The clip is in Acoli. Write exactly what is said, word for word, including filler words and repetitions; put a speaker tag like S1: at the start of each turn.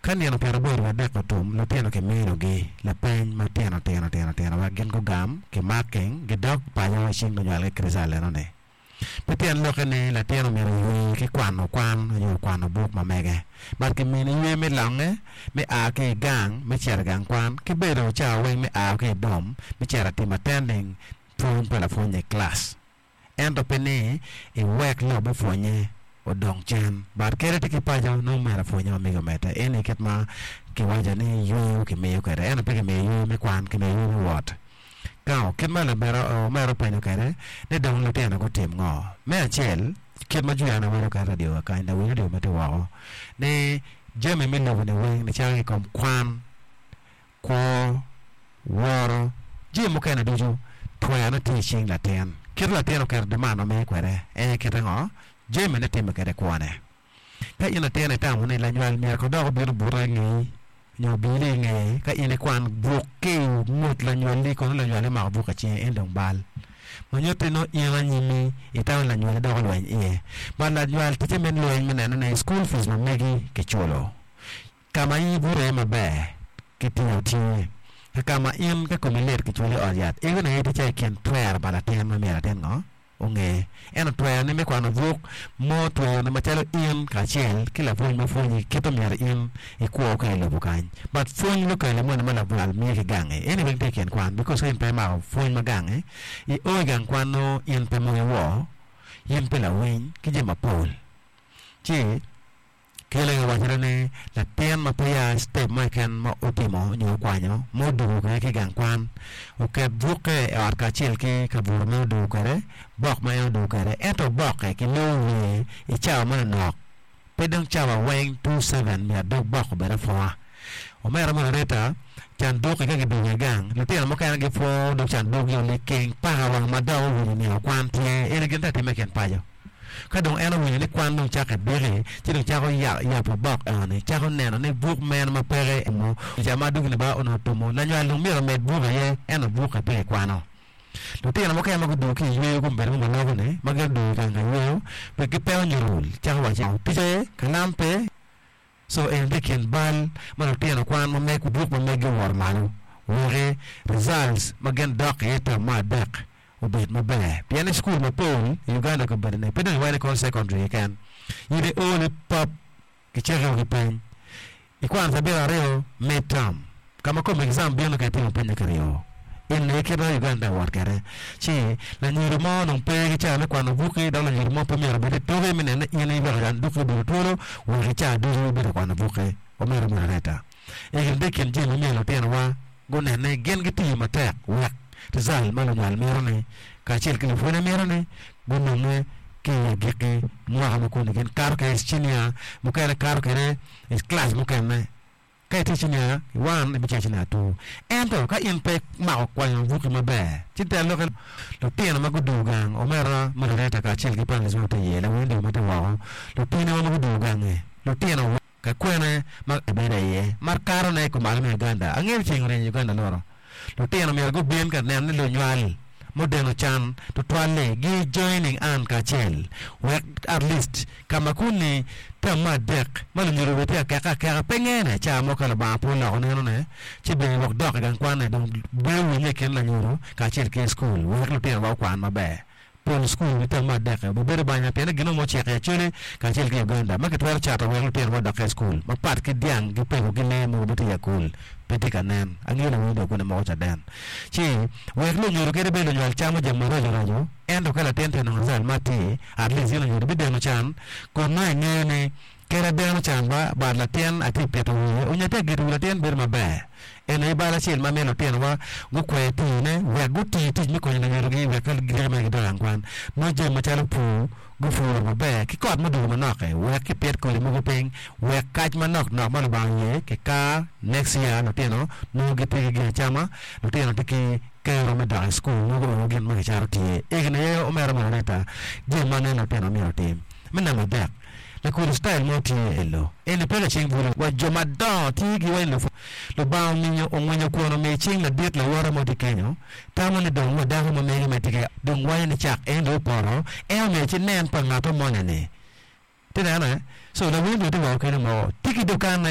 S1: Ka nino pyeraboro wiye adek otum, lutino kiminogi lapeny matino tino tino tino wek gin gugam ki marking gidok paco i cing lunywalgi ki result enoni. Pe tyen lokke ni latin omyero oywe ki kwano kwan nyo kwano buk ma mege but kimini ywe me longe me a ki i gang me cito i gang kwan ki bedo cawa weng me a ki i dorm me cito timo attending pwony pa lapwony i class. Ento pe ni iwek lok me pwonye odong cen but kadi tye ki paco nongo myero apwonye ma mege omedde eni kit ma kiwaco ni yweyo kimiyo kwede ento pe kimiyo yweyo me kwan kimiyo yweyo me wot. Now kit ma omera openyo kwede ni dong lutino gutim ngo? Me acel kit ma Juliana waco kwede i radio wa kany lawiny radio ma tye woko ni jami me lobo ni weng nicako ki kom kwan, kwo, woro, jami mukene ducu twerone tye i cing latin. Kit latin oketo demand ma mege kwede en aye kite ngo? Jamine timme kwede i kwone. Ka in latin itamo ni lanywal myero ko dok obin obute i ngeyi nyo obili i ngeye ka in ikwan buk ki i ngut lanywalli kono lanywalli omako buk i cinge en dong bal ma nyutti nongo in anyimmi itamo ni lanywalli dok olweny iye but lanywal ticce me lweny me neno ni school fees ma megi kiculo ka ma in ibuto iye maber kitingo tye ki ka ma in ka komi lit kiculi i ot yat eno aye tye calo i kin twero pa latin ma myero latin ngo onge. Ento twerone me kwano buk mo twerone macalo in kacel ki lapwony ma pwonyi kit omyero in ikwo ka i lobo kany. But pwony lukele moni ma labwal miyo ki gangi eni weng tye i kin kwan because ka in pe imako pwony ma gangi i o i gang kwan nongo in pe mogo iwor, in pe lawiny ki jami mapol ci Kele owacone ni latin ma peya citep mo keken ma otimo nyo okwanyo ma odwogo kwede ki i gang kwan oket bukke i ot kacel ki kabuto ma en odwogo kwede, bok ma en odwogo kwede ento bokke kilongo wiye i cawa manonok pe dong cawa weng two seven myero dog bok obed apwonga. Omera Margareta canduk-ki ka gidwogo i gang lutino mukene gipwongo dog canduk-gi liking paka wang ma dok owinyo nino kwan tye eni gin tye ka timme i kin paco. Ka dong en owinyo ni kwan dong cako ebiki, ci dong cako yabo bok eno-ni, cako neno ni buk meno ma peke emo ca ma adwogi Lubanga onongo otumo, lanywal dong myero omed buk aye, ento bukke pe kikwano. Lutino mukene ma gudwogo ki i yweyo gubedo ma waloko-ni, ma gin odwogo i gang ka yweyo, pe gipeko nyuto cako wacci, Tic aye, kalam pe. Co eni tye i kin bal ma lutino kwan ma meg buk ma meggi owoto malo weki results ma gin dok iye i term me adek obed maber pien i cukul mapol i Uganda kabedo ni pe dong iwaco ni kono secondary keken in i o ni pap kicaki ki peny ikwano cabit aryo mid term ka ma kom exam bino ka itimo penye kiryo Eni aye kit ma Uganda wot kwede. Ci lanyodo mo onongo pe ki cawa me kwano bukki dok lanyodo mo pe myero obed i tuki me neno ni in iweko candukki obedo twolo wek i cawa ducu ibed ka kwano bukki. Omyero moderator eni tye i kin jami ma myero lutinowa gunen ni gin gitiyo matek wek result ma lunywal mito ni kacel ki lupwonye mito ni gunonge ki i agikki mwaka ma koni gin kato kwede i cinia mukene kato kwede i class mukene. Ka itye cinia one, ibicito cinia two. Ento ka in pe imako kwanyo buki maber, ci te lokke lutino ma gudwogo gang, omera moderator kacel ki panelist ma watye iye, lawiny dong ma tye woko, lutinowa ma gudwogo gangi, lutino ka kwene ma gibedo iye ma katone i kumalo me Uganda. Angeyo ni ceng oryeny i Uganda luro. Lutino myero gubin ka neno ni lunywal mudeno can tutwal-li gi joining an kacel wek at least ka ma kuni term me adek ma lunyodo bene tye ka keke akeka pe ngene ca mo ka Lubanga pe oloko neno ne ci bene gwok dok i gang kwan ne dong bedo winye i kin lanyodo kacel ki school wek lutino wa okwan maber. Pol cukul i term me adek-ki obibedo banya pien ni gin mo ociko i Acholi kacel ki Uganda ma kitwero cato wek lutino ma odok i cukul mapat ki dyang ki peko ki lee mogo ma tye i akul pe tye ka nen. Angeyo lawiny dong kune moko caden. Ci wek lunyodo kadi bed lunywal camo jami maraco raco ento ka latin tye ka nongo result ma atir at least in lunyodo ibideno can kun nongo ingeyo ni Kadi adeno can ba but latin atye pito wiye onyo atye ka geto wi latin bedo maber. En aye bal acel ma miyo lutinowa gukwer tiyone wek guti tic me konyo lunyodogi wek ka gidiki mere gidok i gang kwan nongo jami macalo pur gupuro maber ki kot mudwogo manok-ki wek kipit kodi mogo piny wek kac manok nok ma Lubanga oye kikar next year lutino nongo gitye ki gin acama lutino tye ki kero me dok i cukul nongo guongo gin ma kicato tye. Egini aye omera Margareta jami ma aneno lutino myero otim. Me namba adek. Lakricitayo mo tye i lo eni pe laceng bulu wa jo madongo tye gi wa i lobo. Lubanga ominyo ongwinyo kwon omiyo cing ladit lawote mo tye kenyo tamo ni dong wa dako ma mege ma tye ki dong waco ni cak en dong opoto en omiyo ci nen pa ngato moni ni ti nene so lawiny dong tye woko kenyo moko tye ki dukan ne.